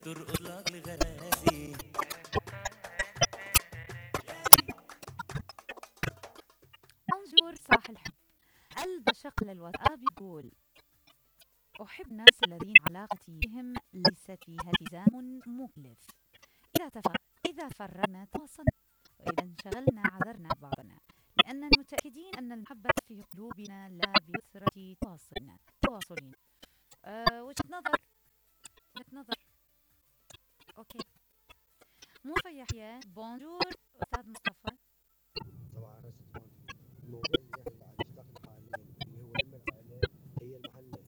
ترقص لك لغرازي. بونجور صاح الحب. البشق للواتساب يقول: أحب الناس الذين علاقتي بهم ليست فيها التزام مكلف. إذا فرغنا تواصلنا، وإذا انشغلنا عذرنا بعضنا، لأننا متأكدين أن المحبة في قلوبنا لا بكثرة تواصلنا. وجهة نظر. أوكي. مصطفى يحيى: بونجور أستاذ مصطفى. طبعا الموضوع اللي احنا قاعد نشتغل حاليا اللي هو لما العائله هي المحنه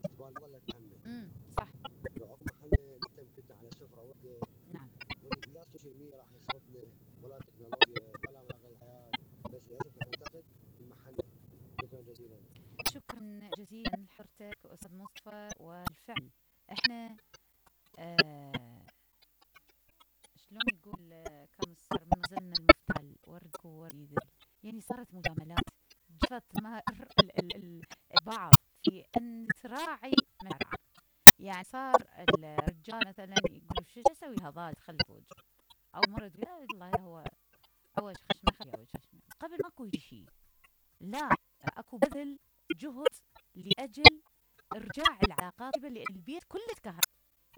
تبان ظلت محنه. صح. لو اكو محنه نحن كنا على سفره وحده. نعم. لا السوشيال ميديا راح يصرفنا ولا التكنولوجيا ولا مراغ الحياه، بس للاسف نحن نفتقد المحنه. شكرا جزيلا. شكرا جزيلا لحضرتك أستاذ مصطفى. والفعل احنا شلون يقول كم من غزلنا المفتعل وردك ووريد، يعني صارت مجاملات، جفت مهر البعض في أن تراعي مشاعر. يعني صار الرجال مثلا يقول شو اسوي هذا خلف وجه، او مره تقول لا والله هو اول خشمه خليه اول خشمه، قبل ماكو شيء. لا، اكو بذل جهد لاجل ارجاع العلاقات، البيت كله تكهرب،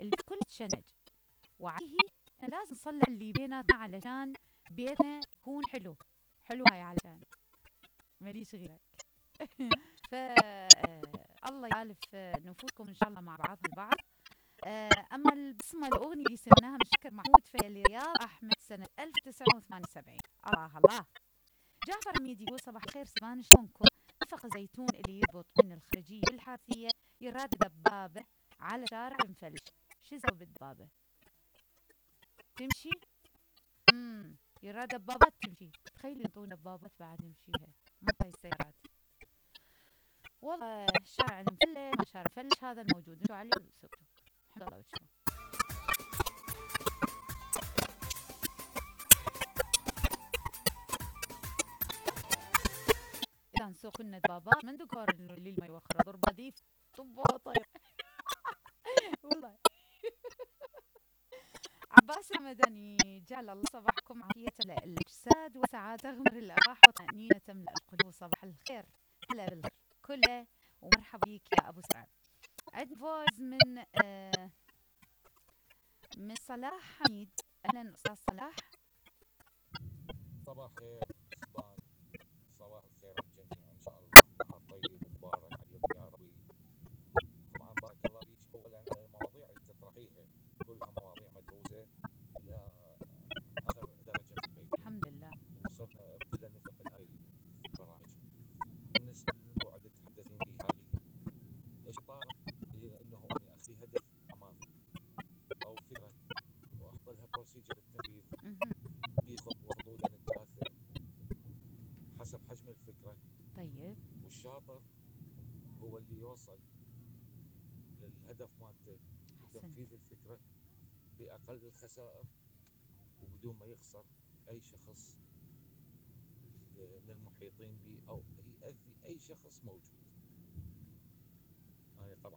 البيت كله تشنج، وعليه لازم نصلح اللي بيناتنا علشان بيتنا يكون حلو. هاي علشان ماليش غيرك. ف الله يالف نفوسكم ان شاء الله مع بعض البعض. اما البسمه الاغنيه اللي سمعناها من شكر محمود في رياض احمد سنه 1978. الله الله. جعفر حميد يقول: صباح الخير سبان، شلونكم؟ اتفق زيتون اللي يربط من الخارجيه بالحارثيه يراد دبابه على شارع مفلش، شو يسوي بالدبابه؟ تمشي؟ يراد دبابات تمشي، تخيلي ينطون دبابات بعد يمشيها، ما هاي السيارات. والله شارع المفلش ما شارع فلش هذا الموجود، انتوا عليه وسكتوا. حق الله وجهكم. إذا نسوق لنا دبابات من دكور الليل ما يوخر ضربة ديف طبها طير. والله. عباس المدني: جعل الله صباحكم عافية الأجساد وسعادة غمر الأرواح وطمأنينة تملأ القلوب. صباح الخير، هلا بالخير كله، ومرحبا بك يا أبو سعد. عندنا فوز من صلاح حميد. أهلا أستاذ صلاح. صباح الخير سبان، صباح الخير الجميع ان شاء الله. نهار طيب ومبارك عليكم يا ربي. طبعا بارك الله فيك. اولا المواضيع اللي تطرحيها كلها مواضيع مدروسه الى اخر درجه من البيت. الحمد لله. وصرنا ابتدى نفهم هاي البرامج. بالنسبه للموضوع اللي تحدثين به حاليا، الشطاره هي انه اني اخذي هدف امامي او فكره واحط لها بروسيجر التنفيذ بخطوه حدودا الثلاثه حسب حجم الفكره. طيب. والشاطر هو اللي يوصل للهدف مالته وتنفيذ الفكره باقل الخسائر وبدون ما يخسر اي شخص من المحيطين به او يأذي اي شخص موجود. انا طبعا